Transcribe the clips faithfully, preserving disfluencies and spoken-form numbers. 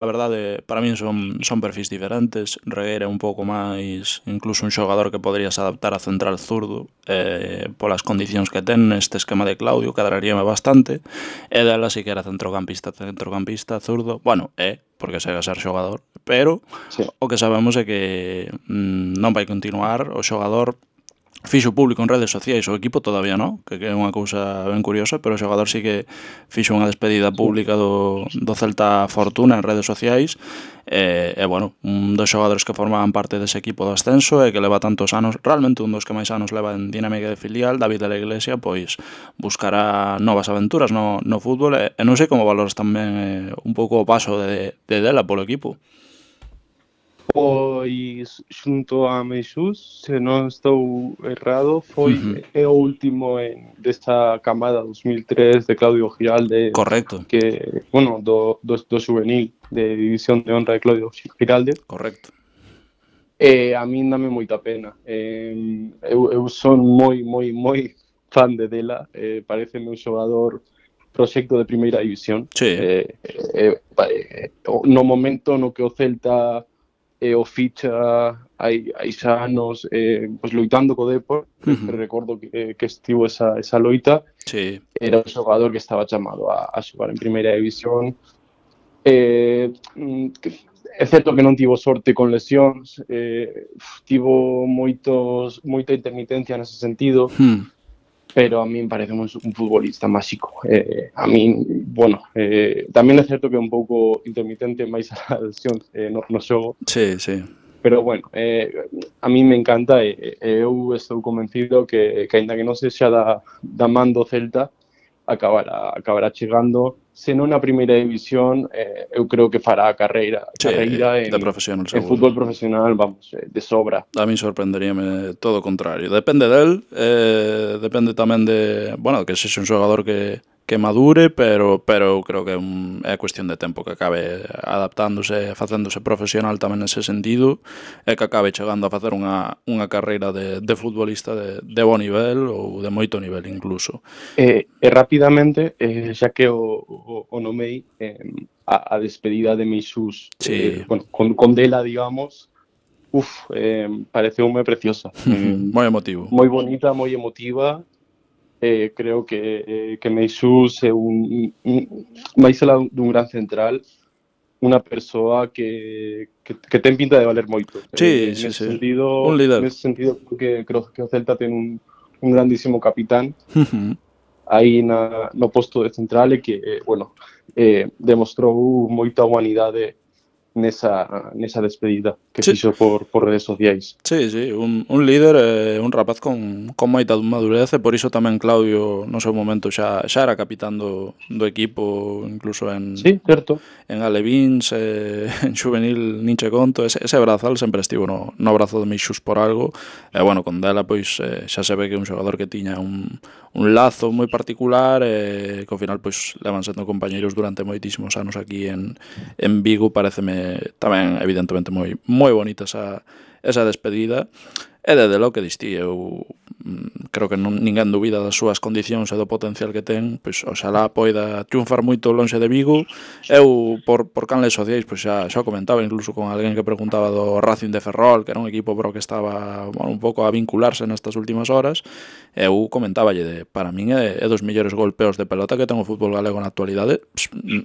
A verdade, para min son, son perfis diferentes. Regueira é un pouco máis incluso un xogador que poderías adaptar a central zurdo, eh, polas condicións que ten neste esquema de Claudio, cadraríame bastante. E dela si que era centrocampista, centrocampista zurdo, bueno, é, porque segue a ser xogador, pero Sí. o que sabemos é que mm, non vai continuar o xogador. Fixo público en redes sociais, o equipo todavía non, que é unha cousa ben curiosa, pero o xogador sí que fixo unha despedida Sí. pública do, do Celta Fortuna en redes sociais. E, e bueno, un dos xogadores que formaban parte dese equipo do ascenso e que leva tantos anos, realmente un dos que máis anos leva en dinámica de filial, David de la Iglesia, pois buscará novas aventuras no, no fútbol, e, e non sei como valoras tamén eh, un pouco o paso de, de dela polo equipo. Pois xunto a Meixús, se non estou errado, foi Uh -huh. é o último en desta camada dos mil tres de Claudio Giralde, Correcto. que, bueno, do, do, do juvenil de División de Honra de Claudio Giralde. Correcto. E a min dame moita pena. Eh, eu, eu son moi, moi, moi fan de dela. Eh, pareceme un xogador proxecto de primeira división. Sí. Eh, eh, eh, no momento no que o Celta e o ficha hai, hai xa anos eh, pues, loitando co Depor, uh -huh. recordo que, que estivo esa, esa loita, sí. Era un xogador que estaba chamado a, a xogar en primeira división. Eh, é certo que non tivo sorte con lesións, eh, tivo moitos, moita intermitencia nese sentido, Hmm. pero a min parece un, un futbolista máxico. Eh, a min, bueno, eh, tamén é certo que é un pouco intermitente máis a lesión eh, no, no xogo. Sí, sí. Pero bueno, eh, a mí me encanta e eh, eu estou convencido que, que ainda que non sexa da, da man do Celta, acabará, acabará chegando, se non na primeira división, eh, eu creo que fará a carreira, sí, carreira en, de profesional, en fútbol profesional, vamos, de sobra. A mí sorprenderíame todo o contrario. Depende del, eh, depende tamén de, bueno, que sexa un xogador que, que madure, pero pero eu creo que é, un, é cuestión de tempo que acabe adaptándose, facéndose profesional tamén nese sentido, e que acabe chegando a facer unha, unha carreira de, de futbolista de, de bo nivel ou de moito nivel incluso. E, e rapidamente, eh, xa que o, o, o nomei, eh, a, a despedida de Meixús, sí. eh, bueno, con, con dela, digamos, uf, eh, pareceume preciosa. Eh, moi emotivo. Moi bonita, moi emotiva. Eh, creo que, eh, que Meixús é un, un máis alá dun gran central, unha persoa que, que, que ten pinta de valer moito. Sí, eh, sí, nese sí. sentido, Un líder. nese sentido que creo que o Celta ten un, un grandísimo capitán uh -huh. aí na, no posto de central e que, eh, bueno, eh, demostrou moita humanidade nesa, nesa despedida que sí. fixo por, por redes sociais. Sí, sí, un, un líder, eh, un rapaz con, con moita madurez, e por iso tamén Claudio no seu momento xa, xa era capitán do, do equipo, incluso en, sí, certo. en Alevins, eh, en Juvenil, Ninche Conto, ese, ese brazal sempre estivo no, no brazo de Meixús por algo, e bueno, con dela pois eh, xa se ve que é un xogador que tiña un, un lazo moi particular, e eh, que ao final pois levan sendo compañeiros durante moitísimos anos aquí en, en Vigo. Pareceme tamén evidentemente moi moi bonita esa esa despedida, e desde lo que distí, eu mm, creo que non, ninguén dubida das súas condicións e do potencial que ten, pois oxalá poida triunfar moito lonxe de Vigo. Eu, por, por canles sociais, pois xa, xa comentaba incluso con alguén que preguntaba do Racing de Ferrol, que era un equipo pro que estaba, bueno, un pouco a vincularse nestas últimas horas. Eu comentáballe de, para min é, é dos mellores golpeos de pelota que ten o fútbol galego na actualidade.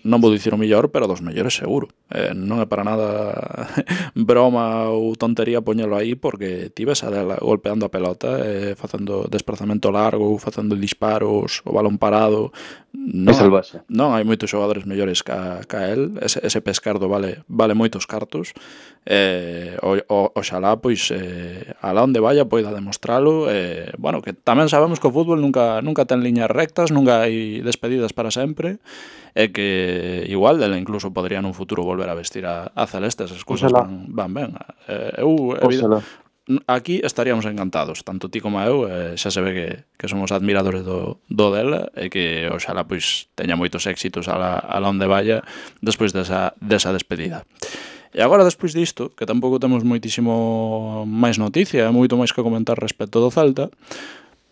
Non vou dicir o mellor, pero dos mellores seguro. Eh, non é para nada broma ou tontería poñelo aí, porque ti ves a dela golpeando a pelota, eh, facendo desplazamento largo, facendo disparos, o balón parado. Non, é salvaxe. Non hai moitos xogadores mellores ca, ca el. Ese, ese pescardo vale, vale moitos cartos. Eh, o, o, oxalá, pois, eh, alá onde vaya poida demostralo. Eh, bueno, que tamén sabemos que o fútbol nunca, nunca ten liñas rectas, nunca hai despedidas para sempre, e que igual dela incluso podría nun futuro volver a vestir a, a celeste. Esas cousas van, van ben. Eh, eu, evidente, aquí estaríamos encantados, tanto ti como eu, eh, xa se ve que, que somos admiradores do, do dela, e que oxalá pois teña moitos éxitos a la onde vaya despois desa, desa despedida. E agora, despois disto, que tampouco temos moitísimo máis noticia, moito máis que comentar respecto do Celta,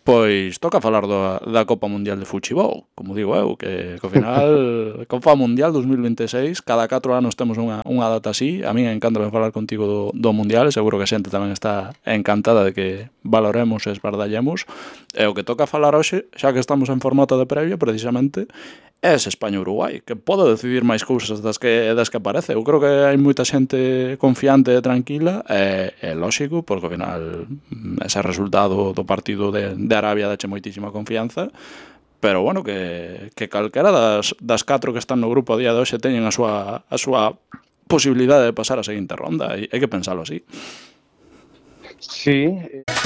Pois toca falar da, da Copa Mundial de Fuchibol, como digo eu, que, que ao final Copa Mundial dos mil vinte e seis, cada catro anos temos unha, unha data así. A mí encanta falar contigo do, do Mundial, e seguro que a xente tamén está encantada de que valoremos e esbardallemos. E o que toca falar hoxe, xa que estamos en formato de previa, precisamente, é ese España-Uruguai, que pode decidir máis cousas das que, das que parece. Eu creo que hai moita xente confiante e tranquila, e, é lóxico, porque ao final ese resultado do partido de, de Arabia dache moitísima confianza, pero bueno, que, que calquera das, das catro que están no grupo a día de hoxe teñen a súa, a súa posibilidade de pasar a seguinte ronda, e hai que pensalo así. Sí,